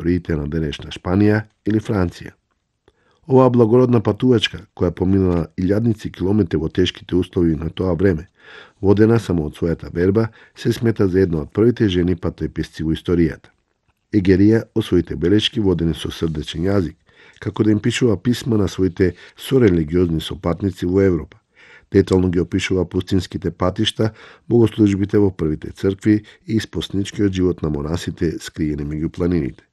првите на денешна Шпанија или Франција. Оваа благородна патувачка, која поминала илјадници километри во тешките услови на тоа време, водена само од својата верба, се смета за една од првите жени патоеписци во историјата. Егерија од своите белешки водени со срдечен јазик, како да им пишува писма на своите сорелигиозни сопатници во Европа. Детално ги опишува пустинските патишта, богослужбите во првите цркви и испосничкиот живот на монасите скриени меѓу планините.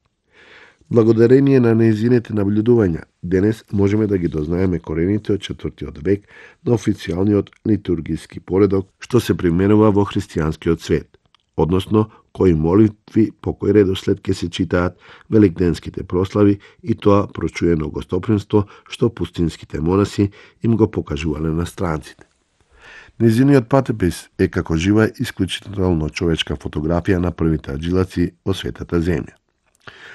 Благодарение на нејзините наблюдувања, денес можеме да ги дознаеме корените од 4. век на официјалниот литургиски поредок што се применува во христијанскиот свет, односно кои молитви по кој редослед ќе се читаат великденските прослави и тоа прочуено гостопримство што пустинските монаси им го покажувале на странците. Незиниот патопис е како жива исклучително човечка фотографија на првите аджилаци во светата земја.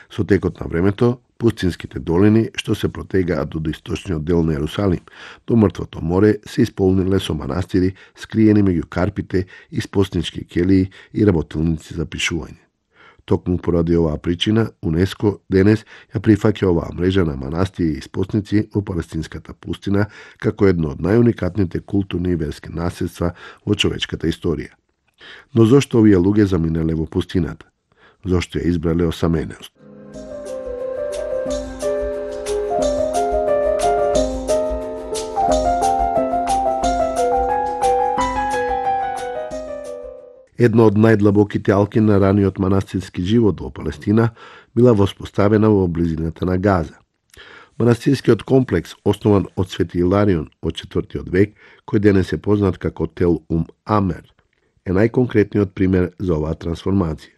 Со текот на времето, пустинските долини, што се протегаат од источниот дел на Јерусалим до Мртвото море, се исполниле со манастири, скриени меѓу карпите, испоснички келии и работилници за пишување. Токму поради оваа причина, УНЕСКО денес ја прифаќа оваа мрежа на манастири и испосници во палестинската пустина како едно од најуникатните културни и верски наследства во човечката историја. Но зошто овие луѓе заминале во пустината? Зошто ја избрале осамененост? Една од најдлабоките алки на раниот манастирски живот во Палестина била воспоставена во близината на Газа. Манастирскиот комплекс, основан од Свети Иларион од 4. век, кој денес е познат како Тел Амер, е најконкретниот пример за оваа трансформација.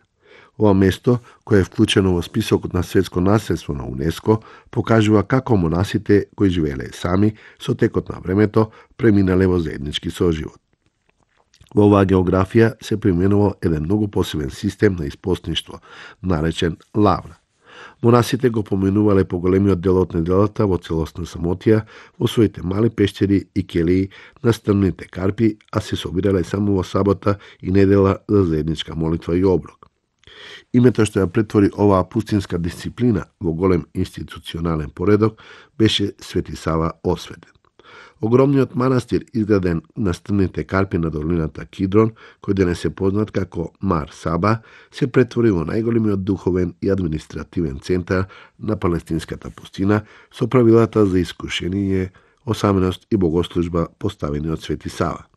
Ова место, кое е вклучено во списокот на светско наследство на УНЕСКО, покажува како монасите кои живееле сами со текот на времето преминале во заеднички соживот. Во оваа географија се применува еден многу посебен систем на испостништво, наречен лавра. Монасите го поминувале поголемиот дел од неделата во целосна самотија во своите мали пештери и келии на стрмните карпи, а се собирале само во сабота и недела за заедничка молитва и оброк. Името што ја претвори оваа пустинска дисциплина во голем институционален поредок беше Свети Сава Осветен. Огромниот манастир, изграден на стрмните карпи на долината Кидрон, кој денес е познат како Мар Саба, се претвори во најголемиот духовен и административен центар на палестинската пустина со правилата за искушение, осаменост и богослужба поставени од Свети Сава.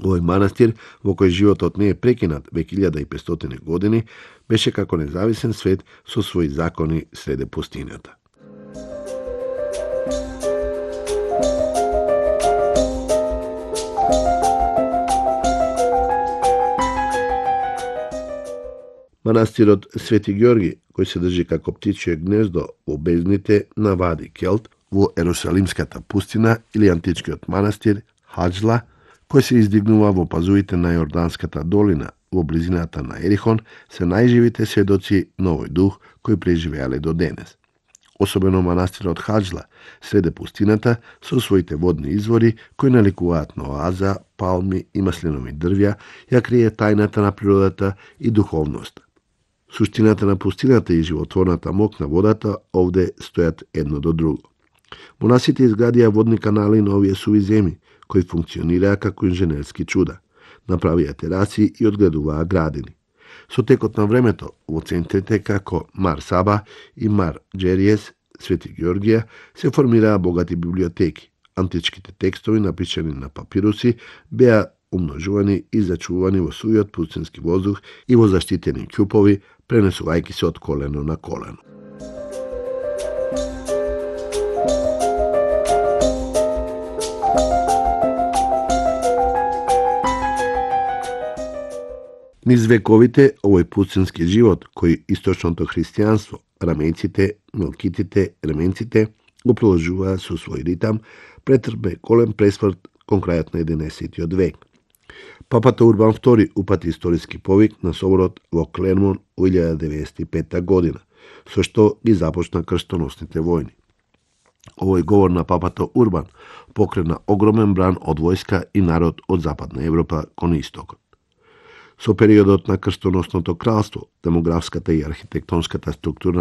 Овој манастир, во кој животот не е прекинат век 1500 години, беше како независен свет со своји закони среде пустината. Манастирот Свети Ѓорги, кој се држи како птичје гнездо во бездните на Вади Келт во Ерусалимската пустина или античкиот манастир Хаџла, кој се издигнува во пазувите на Јорданската долина во близината на Ерихон, се најживите сведоци на овој дух кој преживеале до денес. Особено манастирот Хаџла, среде пустината, со своите водни извори, кои наликуваат на оаза, палми и маслинови дрвја, ја крие тајната на природата и духовноста. Суштината на пустината и животворната мок на водата овде стојат едно до друго. Монасите изградија водни канали на овие суви земи, кои функционираа како инженерски чуда, направија тераси и одградуваа градини. Со текот на времето, во центрите како Мар Саба и Мар Џериес, Свети Ѓоргија, се формираа богати библиотеки. Античките текстови, напишани на папируси, беа умножувани и зачувани во сувиот пустински воздух и во заштитени ќупови, пренесувајќи се од колено на колено. Низ вековите, овој пустински живот, кој источното христијанство, рамејците, мелкитите, ременците, го приложуваа со свој ритам, претрпе голем пресврт кон крајот на 11. век. Папата Урбан II упати историски повик на соборот во Клермон во 1095 година, со што ги започна крстоносните војни. Овој говор на папата Урбан покрена огромен бран од војска и народ од Западна Европа кон истокот. Со периодот на крстоносното кралство, демографската и архитектонската структура